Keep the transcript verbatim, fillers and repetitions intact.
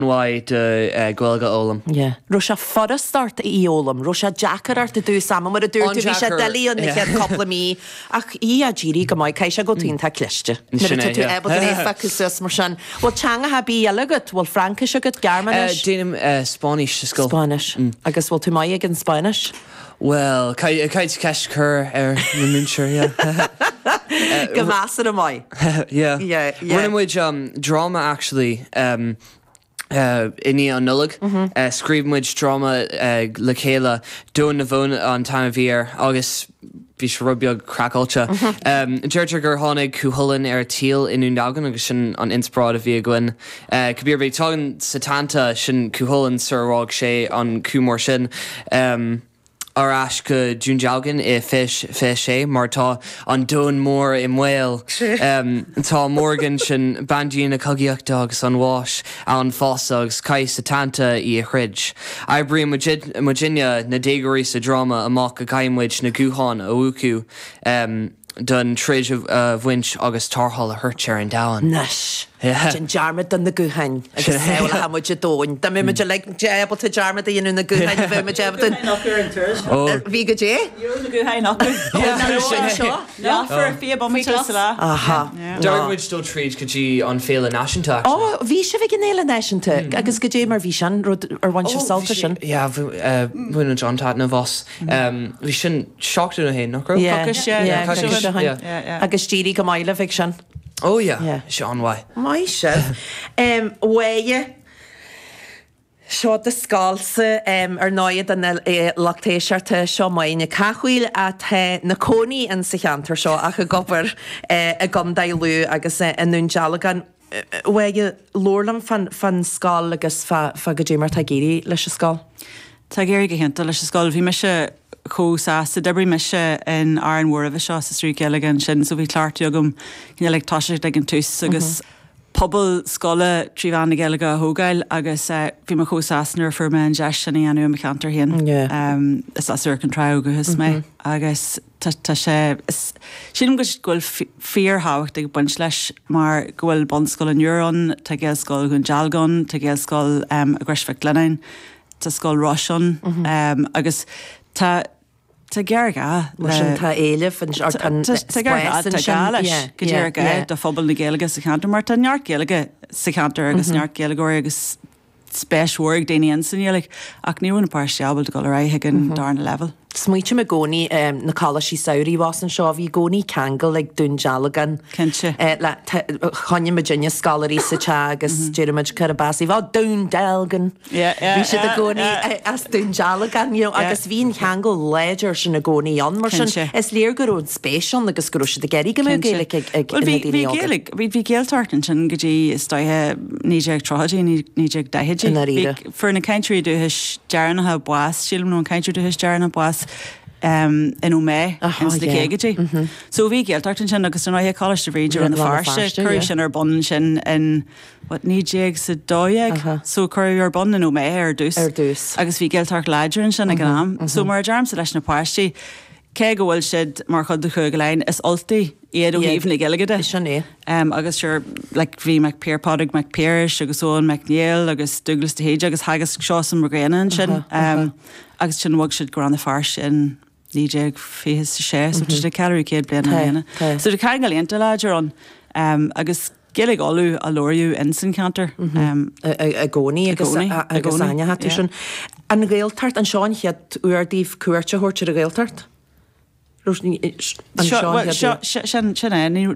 An-mhaith do Ghaeilge a fhoghlaim. Yeah. Raibh sé furast ort í fhoghlaim, raibh sé deacair ort i dtús ama mar a dúirt tú bhí sé doiligh an na chéad cúpla mí ach í á d'éirigh go maith caithfidh sé go bhfuil tú iontach cliste. Nuair atá tú ábalta é a phiocadh suas mar sin. Bhfuil teangacha ar bith eile agat? Bhfuil Fraincis agat, Gearmáinis? Déanaim Spáinnis sa scoil. Spáinnis. Agus bhfuil tú maith ag an Spáinnis? Well, caithfidh ceist a chur ar na múinteoir, yeah. Go measartha maith. Yeah. Yeah, yeah. Rinne muid um, dráma actually um, uh, i ndiaidh an Nollaig. Mm -hmm. uh, scríobh muid dráma uh, le chéile Domhan na bhFón an t-ainm a bhí air agus bhí sé rud beag craiceáilte. Mm -hmm. um, Deirtear gur tháinig Cúchulainn ar tíl i nDún Dealgan agus sin an inspioráid a bhí againn. Uh, Cibé ar bith tagann Setanta sin Cúchulainn sar a rug sé an cú mór sin. Um, ar ais go Dún Dealgan i fiche fiche sé mar tá an domhan mór i mbaol. Um, tá Morrigan sin bandia na cogaíochta agus an bháis ann fosta agus caithfidh Setanta í a throid. Oibríonn muidinne na déagóirí sa dráma amach go gcaithfidh muid na gutháin a mhúchadh um, don troid a bhaint agus tarrtháil a thabhairt ar an domhan. Anois. Déan dearmad de na gutháin agus samhlaigh muid i domhan. Dá mbeadh muid uilig ábalta dearmad a dhéanamh na gutháin a bheadh muid ábalta. Bhí go dé? Ní raibh na gutháin acu. Seo? Fuair fiche bomaite sa lá. Aha. D'éirigh muid dul tríd go dtí an Féile Náisiúnta. Ó, bhí sibh ag an Fhéile Náisiúnta agus go dé mar bhí sin rud ar bhain sibh sult as sin. Yeah, bhain muid an-taitneamh as. Bhí sin seachtain ó shin, nach raibh? Yeah, Coicís, yeah, yeah, coicís coicís ó shin. Yeah, yeah. Agus d'éirigh go maith libh ag sin. Oh yeah, Yeah. sé an-mhaith. Maith sibh. Um, Mháire, seo do scoilsa um, ar ndóigh don eh, lucht éisteachta seo Máire Nic Cathmhaoil atá ina cónaí in sa cheantar seo ach ag obair eh, i gContae Lú agus eh, i nDún Dealgan. Mháire, labhair liom fán, fán scoil agus fá, fá go dé mar tá ag éirí leis an scoil. Tá ag éirí go hiontach leis an scoil. Bhí mise chomh sásta d'oibrigh mise in Árainn Mhór roimhe seo sa trí Gaeilge ansin, so bhí cleachtadh agam cineál ag toiseacht ag an tús agus pobal scoile trí mheán na Gaeilge a thógáil agus uh, bhí mé chomh sásta nuair a fuair mé an deis sin a dhéanamh i mo cheantar féin. Yeah. Um, is as Iúr Cinn Trá ó dhúchas mé agus tá tá sé is- sílim go go bhfuil fi- fíorthábhacht ag baint leis mar go bhfuil bunscoil an Iúir ann, tá Gaelscoil Dhún Dealgan, tá Gaelscoil um, i gCrois Mhic Lionnáin, tá scoil Rois ann um, agus tá tá géarghá Mar sin tá éileamh an- or tá an Tá géarghá spás tá ansin. gá leis Yeah, go yeah, dtír gá yeah. do phobal na Gaeilge sa cheantar mar tá neart Gaeilge sa cheantar agus neart Gaeilgeoirí agus spéis mhór ag daoine ann sa Ghaeilge ach ní bhfuil na páistí ábalta dul ar aghaidh ag an darna level. Smaoiním i gcónaí um, na coláistí samhraidh abhus anseo, bhí i gcónaí ceangal ag Dún Dealgan. Cinnte. Eh, le choinnigh muidinne scoláirí sa teach agus deirimid cur bas ó Dún Dealgan. Yeah, yeah, Bhí siad i yeah, gcónaí yeah. eh, as Dún Dealgan, you know, Yeah. agus bhí an ceangal láidir sin i gcónaí ann mar sin Cinnte. is léir go raibh an spéis ann agus go raibh siad ag iarraidh go mbeadh Gaeilge ag ag Well, na bhí daoine bhí óga. Gaeilge bhí bhí Gaeltacht ansin go dtí is dóiche naoi déag tríochaidí naoi déag daichidí. I ndáiríre. Bhí- Fuair na cainteoirí dúchais deireanacha bás sílim nó an cainteoir dúchais deireanach bás um, in Ó Méith Aha, ins na yeah. caogaidí. So bhí Gaeltacht ansin agus an ráithe Coláiste Bhríde Rann na Rann na Feirste, Feirste, cuireadh yeah. sin ar bun sin in what naoi déag sa dó dhéag, Aha. so cuireadh ar bun in Ó Méith ar dtús. Ar dtús. Agus bhí Gaeltacht láidir ansin ag an am. So mar a deirimse leis na páistí, cé go bhfuil siad mar chud de Chúige Laighean is Ultaigh iad ó Yeah. thaobh na Gaeilge de. Sin é. Um, agus sure, like, bhí Mac Piar Pádraig Mac Piarais agus Eoin Mac Néill agus Douglas de hÍde agus theagasc Seosamh Mac Grianna ansin. Um, agus sin bhog siad go Rann na Feirste in naoi déag fiche sé, so tá sé ceathrú céad bliain Tá, bliana. tá. So tá ceangal iontach láidir ann um, agus Gaeilge Uladh á labhairt in san ceantar. Um, I i gcónaí agus gcónaí, i agus gcónaí, aine tú yeah. sin. An Ghaeltacht an seo an chéad uair daoibh cuairt a thabhairt ar an Ghaeltacht? An Seo seo an well, chéad seo uair? sin sin é ní